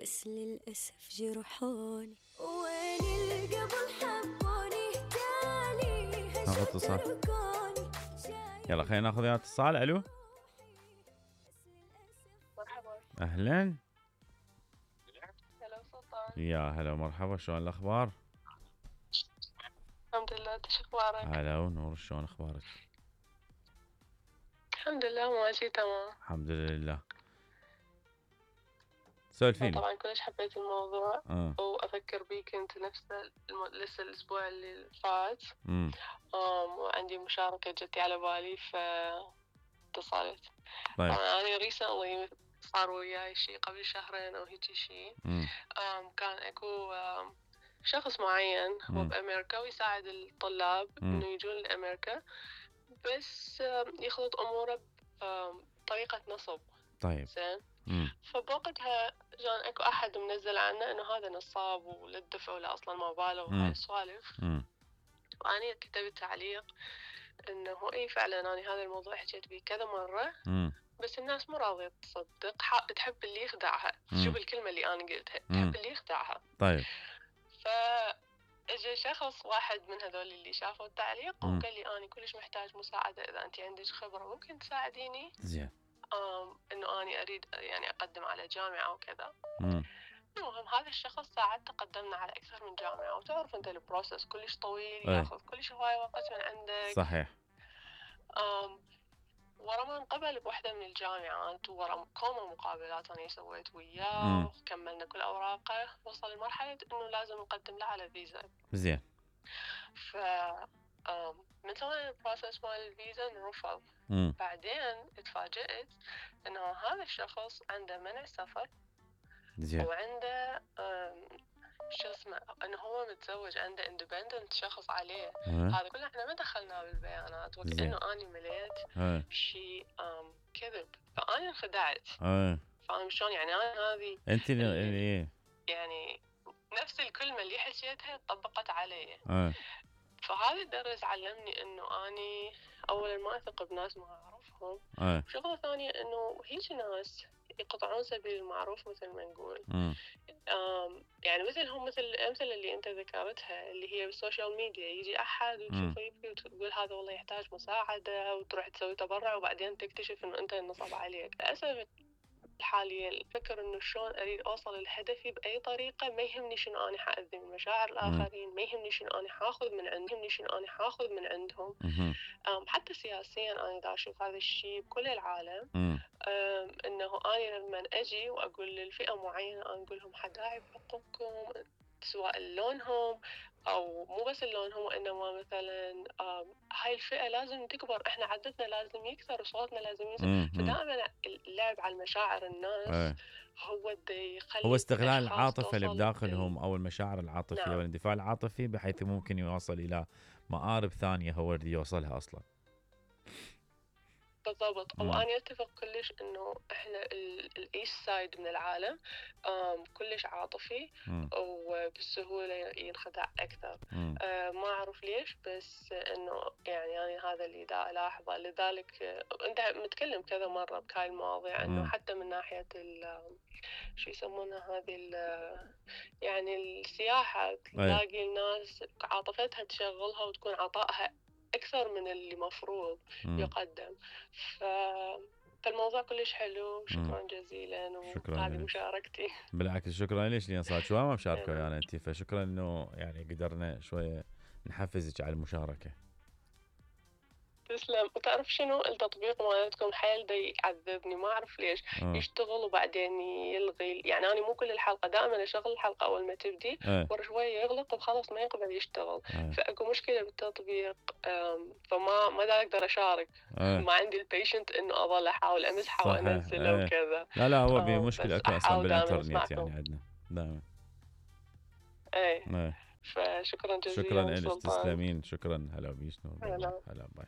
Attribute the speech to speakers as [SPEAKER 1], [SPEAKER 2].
[SPEAKER 1] بس للأسف جرحوني، وين القبل حبوني تالي
[SPEAKER 2] ناخذ اتصال. يلا خلينا ناخذ يا اتصال. الو
[SPEAKER 3] مرحبا.
[SPEAKER 2] اهلا.
[SPEAKER 3] هلا سلطان.
[SPEAKER 2] يا هلا مرحبا، شلون الاخبار؟
[SPEAKER 3] الحمد لله، انت شو اخبارك؟
[SPEAKER 2] هلا ونور، شلون اخبارك؟
[SPEAKER 3] الحمد لله ماشي تمام.
[SPEAKER 2] الحمد لله. سولفيني.
[SPEAKER 3] طبعا كلش حبيت الموضوع وافكر بيك انت لسه الاسبوع اللي فات. وعندي مشاركة جتي على بالي فاتصلت.
[SPEAKER 2] طيب.
[SPEAKER 3] طبعا انا ريسنتلي صار وياي شي قبل شهرين او هيجي شي. كان اكو شخص معين هو بامريكا ويساعد الطلاب انه يجون لامريكا، بس يخلط اموره بطريقة نصب.
[SPEAKER 2] طيب.
[SPEAKER 3] زين. فبوقتها كان اكو احد منزل عنه انه هذا نصاب ولا تدفع ولا اصلا ما باله وهاي السوالف. واني كتبت تعليق انه اي فعلا انا هذا الموضوع حكيت بيه كذا مرة. بس الناس مو راضية تصدق، تحب اللي يخدعها. شوف الكلمة اللي انا قلتها، تحب اللي يخدعها.
[SPEAKER 2] طيب.
[SPEAKER 3] اجى شخص واحد من هذول اللي شافوا التعليق وقال لي انا كلش محتاج مساعدة، اذا انت عندك خبرة ممكن تساعديني.
[SPEAKER 2] زين.
[SPEAKER 3] انه اني اريد يعني اقدم على جامعة وكذا. المهم هذا الشخص ساعدته، قدمنا على اكثر من جامعة، وتعرف انت البروسس كلش طويل، ياخذ كلش هواي وقت من عندك.
[SPEAKER 2] صحيح.
[SPEAKER 3] ورا ما انقبل بوحدة من الجامعات ورا كومة مقابلات أنا سويت وياه وكملنا كل أوراقه، وصل لمرحلة إنه لازم نقدم له على فيزا.
[SPEAKER 2] زين.
[SPEAKER 3] من سوينا البروسس مال الفيزا نرفض. بعدين اتفاجأت إنه هذا الشخص عنده منع سفر.
[SPEAKER 2] زين.
[SPEAKER 3] وعنده شو اسمه انه هو متزوج، عنده اندبندنت شخص عليه. هذا كله احنا ما دخلناه بالبيانات، وكأنه اني مليت شيء كذب، فاني انخدعت. فاهم شلون؟ يعني انا هذه
[SPEAKER 2] انت
[SPEAKER 3] يعني نفس الكلمة اللي حكيتها طبقت علي. فهذا الدرس علمني انه اني اولا ما اثق بناس ما اعرفهم. شغلة ثانية انه هيك ناس يقطعون سبيل المعروف مثل ما نقول. يعني مثل الأمثلة اللي أنت ذكرتها اللي هي بالسوشيال ميديا، يجي أحد وتشوفه يبكي وتقول هذا والله يحتاج مساعدة، وتروح تسوي تبرع وبعدين تكتشف إنه أنت النصب عليك. للأسف الحالية الفكر إنه شلون أريد أوصل لهدفي بأي طريقة، ما يهمني شنو أنا حأذي من مشاعر الآخرين، ما يهمني شنو أنا حاخذ من عندهم، يهمني شنو أنا حاخذ من عندهم. حتى سياسيا أنا دا أشوف هذا الشيء بكل العالم. إنه أنا لما أجي وأقول للفئة معينة أنا أقول لهم حداعي بحقوقكم، سواء لونهم أو مو بس لونهم، وإنما مثلا هاي الفئة لازم تكبر، إحنا عددنا لازم يكثر وصوتنا لازم يزيد. فدائما اللعب على مشاعر الناس هو
[SPEAKER 2] استغلال العاطفة اللي بداخلهم أو المشاعر العاطفية. نعم. والاندفاع العاطفي بحيث ممكن يوصل إلى مآرب ثانية هو اللي يوصلها أصلا.
[SPEAKER 3] بالضبط. وأنا أتفق كلش إنه إحنا الإيست سايد من العالم كلش عاطفي وبالسهولة ينخدع أكثر. ما أعرف ليش، بس إنه يعني أنا هذا اللي دا ألاحظه. لذلك أنت متكلم كذا مرة بهاي المواضيع إنه حتى من ناحية شو يسمونها هذه يعني السياحة، تلاقي الناس عاطفتها تشغلها وتكون عطائها أكثر من اللي مفروض يقدم. فالموضوع كلش حلو. شكرا جزيلا. وهذه مشاركتي.
[SPEAKER 2] بالعكس شكرا ليش، لأن صار شوية ما مشاركة يعني أنت، فشكرا إنه يعني قدرنا شوية نحفزك على المشاركة.
[SPEAKER 3] تسلم. وتعرف شنو التطبيق مالتكم حيل دا يعذبني، ما أعرف ليش. يشتغل وبعدين يلغي. يعني أنا مو كل الحلقة دائما أشغل الحلقة أول ما تبدي ورا شوية يغلق وخلاص ما يقدر يشتغل. فأكو مشكلة بالتطبيق. فما دا أقدر أشارك. ما عندي البيشنت إنه أظل أحاول أمسحه وأنزله وكذا.
[SPEAKER 2] لا هو بمشكلة أكو أصلا بالإنترنت يعني عندنا دائما.
[SPEAKER 3] فشكرا جزيلا.
[SPEAKER 2] شكرا لك، تسلمين. شكرا. هلا بيش نور. هلا باي.